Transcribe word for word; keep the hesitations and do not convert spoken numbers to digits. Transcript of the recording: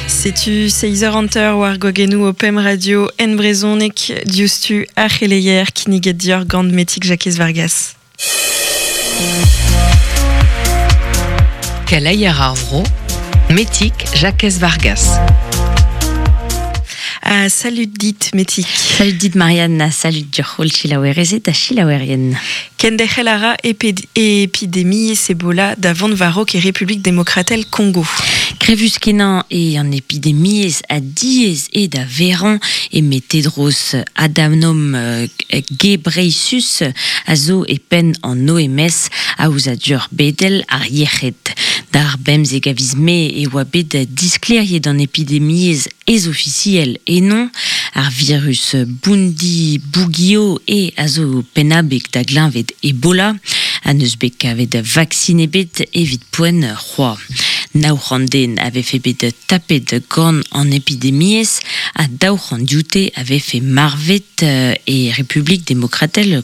Setu seizh eur hanter war gwagennoù o pemp radio en brezhoneg diouzhtu ar c'heleier kinniget dioc'h gant Metig Jakez Vargas. Keleier ar vro, Metig Jakez Vargas. Ah, salut dit, Metig. Salut dit, Marianne. Salut dioc'h chilaouerezed ha chilaouerien. Kenderc'hel a ra epidemiezh Ebola da vont war-raok e Republik Demokratel Kongo. Grevus kenañ eo an epidemiezh ha diaes eo da verañ eme Tedros Adhanom Ghebreyesus a zo e penn an O M S aozadur bedel ar yec'hed. D'ar bemzek a viz Mae e oa bet disklêriet an epidemiezh ez ofisiel enon ar virus Bundi Bugio e a zo pennabeg da gleñved Ebola ha n'eus bet kavet vaccin ebet evit poent c'hoazh. Nav c'hant den a vefe bet tapet gant an epidemiezh ha daou c'hant dioute a vefe marvet e Republik Demokratel